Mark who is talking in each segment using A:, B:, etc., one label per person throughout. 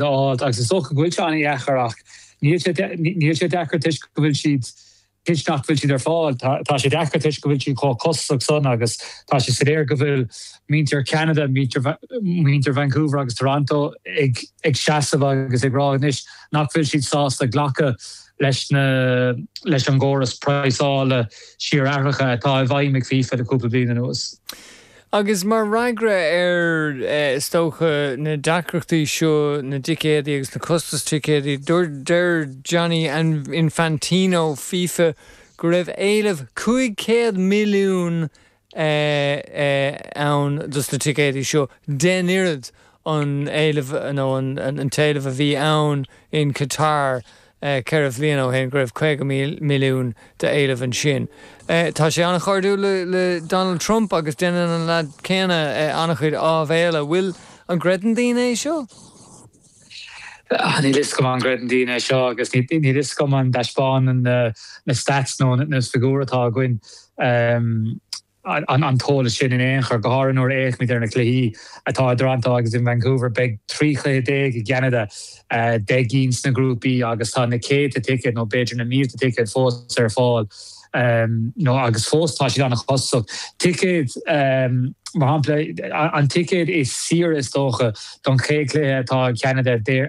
A: a fháil agus is dócha go bhfuil sé an-dheacair ach níl sé níl sé deacair toisc go bhfuil siad toisc nach bhfuil siad ar fáil. Tá sé deacair toisc go bhfuil siad chomh costasach san agus tá sé soiléir go bhfuil muintir Cheanada, muintir Vancouver agus Toronto ag ag seasamh agus ag rá anois nach bhfuil siad sásta glacadh leis na leis an gcóras praghsála síorathraitheach atá i bhfeidhm ag FIFA le cúpla bliain anuas.
B: Agus mar fhreagra ar, is dócha, na deacrachtaí seo na dticéadaí agus na costais ticéadaí, deir Gianni Infantino, FIFA, go raibh éileamh 500 milliún ann dos na ticéadaí seo, 10 n-oiread an éileamh nó an t-éileamh a bhí ann in Qatar 4 bhliain ó shin, go raibh 50 milliún d'éileamh ansin. Tá sé an-chairdiúil le Donald Trump agus déanann an leaid céanna an-chuid áibhéile. Bhfuil, an gcreideann daoine é seo?
A: Níl fhios agam an gcreideann daoine é seo agus níl fhios agam an dtaispeánann na stats nó na figiúir atá againn an t-eolas sin in aon chor, go háirithe nuair a fhéachaimid ar na cluichí atá i dToronto agus in Vancouver. Beidh 13 chluiche i gCeanada, 10 gcinn sna grúpaí agus tá na céadta ticéad nó b'fhéidir na mílte ticéad fós ar fáil nó agus fós tá siad an-chostasach. Ticéad, mar shampla, an ticéad is saoire is dócha don chéad chluiche atá i gCeanada Dé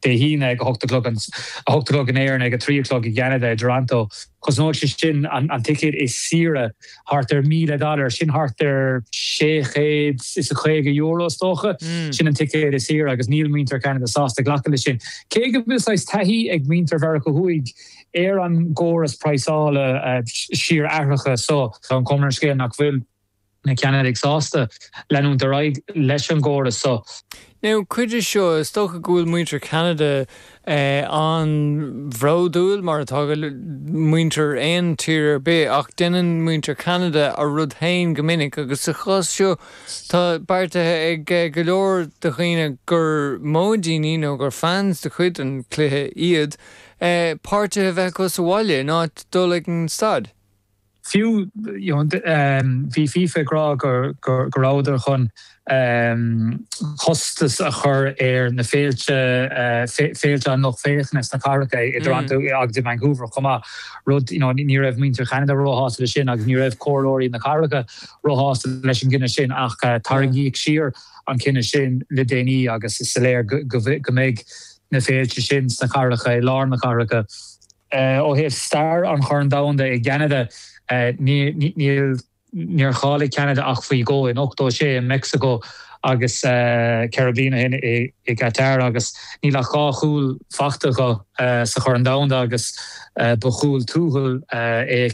A: hAoine ag 8 a chlog, 8 a chlog in Éirinn ag 3 a chlog i gCeanada i dToronto. Cosnóidh sé sin an ticéad is saoire thart ar 1,000 dollar, sin thart ar €650 is dócha. Sin an ticéad is saoire agus níl muintir Cheanada sásta glacadh leis sin. Cé go bhfuil saghas taithí ag muintir Mheiriceá Thuaidh ar an gcóras praghsála síorathraitheach so, tá an chuma ar an scéal nach bhfuil na Ceanadaigh sásta leanúint ar aghaidh leis an gcóras so.
B: Now, cuid de seo, is dócha go bhfuil muintir Cheanada an-bhródúil, mar atá muintir aon tír ar bith, ach déanann muintir Cheanada a rud féin go minic agus sa chás seo tá beartaithe ag go leor de dhaoine gur móidíní nó gur fans de chuid an chluiche iad, páirtithe a bheith acu sa bhaile in áit dul ag an staid.
A: Fiú, bhí FIFA ag rá go rabhadar chun costas a chur ar na féilte, féilte an lucht féachana sna cathracha i dToronto agus i Vancouver chomh maith, rud, you know, ní raibh muintir Cheanada róshásta leis sin agus ní raibh comhairleoirí na cathracha róshásta leis an gcinneadh sin ach tarraingíodh siar an cinneadh sin le déanaí agus is soiléir go mbeidh na féilte sin sna cathracha, i lár na cathracha. Ó thaobh stair an Chorn Domhanda i gCeanada, níl, níor cháiligh Ceanada ach faoi dhó, in 86 i Meicsiceo agus 4 bliana ó shin i gCatar agus níl ach 2 chúl faighte acu sa Chorn Domhanda agus ba chúl tuathail é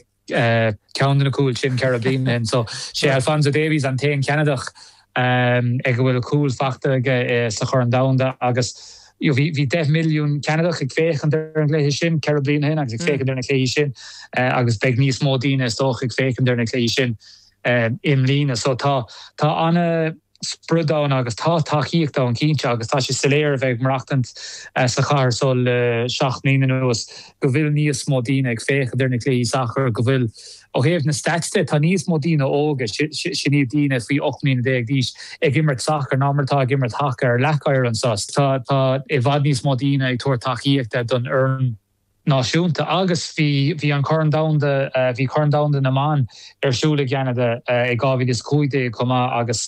A: ceann de na cúil sin 4 bliana ó shin. So, sé Alphonso Davies an t-aon Cheanadach ag a bhfuil cúl faighte aige sa Chorn Domhanda agus bhí 10 milliún Ceanadach ag féachaint ar an gcluiche sin 4 bliana ó shin agus ag féachaint ar na cluichí sin agus beidh níos mó daoine is dócha ag féachaint ar na cluichí sin i mbliana. So tá tá ana sprid ann agus tá tacaíocht ann cinnte agus tá sé soiléir a bheith ag maireachtaint sa chathair so le 7 mbliana anuas go bhfuil níos mó daoine ag féachaint ar na cluichí sacair, go bhfuil Ó thaobh na stats de, tá níos mó daoine óga, sin iad daoine faoi 18 mbliana d'aois, ag imirt sacair ná mar atá ag imirt haca ar leac oighir anseo. Tá tá i bhfad níos mó daoine ag tabhairt tacaíochta don fhoireann náisiúnta agus bhí bhí an Corn Domhanda, bhí Corn Domhanda na mBan ar siúl i gCeanada i 2015 chomh maith agus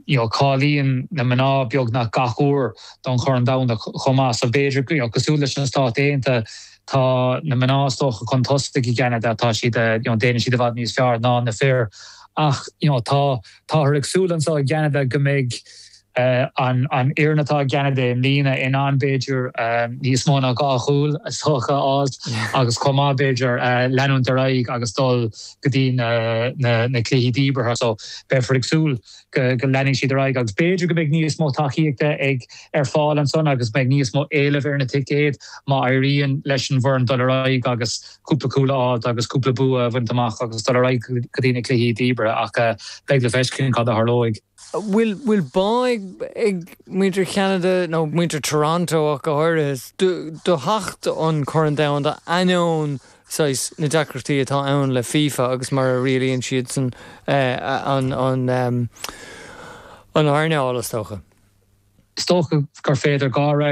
A: you know cáilíonn na mná beagnach gach uair don Chorn Domhanda chomh maith so b'fhéidir you know cosúil leis na Stáit Aontaithe Tá na mná is dócha chun tosaigh i gCeanada, tá siad, you know, déanann siad i bhfad níos fearr ná na fir ach, you know, tá, táthar ag súil anseo i gCeanada go mbeidh an, an fhoireann atá i gCeanada i mbliana in ann b'fhéidir níos mó ná 2 chúl is dócha a fháilt agus chomh maith b'fhéidir leanúint ar aghaidh agus dul go dtí na, na, na cluichí díbeartha so beifear ag súil go leanfaidh siad ar aghaidh agus b'fhéidir go mbeidh níos mó tacaíochta ag ar fáil ansan agus beidh níos mó éilimh ar na ticéid má éiríonn leis an bhfoireann dul ar aghaidh agus cúpla cúl a fháilt agus cúpla bua a bhaint amach agus dul ar aghaidh go dtí na cluichí díbeartha ach beidh le feiscint cad a tharlóidh.
B: Bhfuil bhfuil bá ag ag muintir Cheanada nó muintir Toronto ach go háirithe do do theacht an Corn Domhanda ainneoin saghas na deacrachtaí atá ann le FIFA agus mar a rialaíonn siadsan an an an earnáil, is dócha.
A: Is dócha gur féidir dhá fhreagra.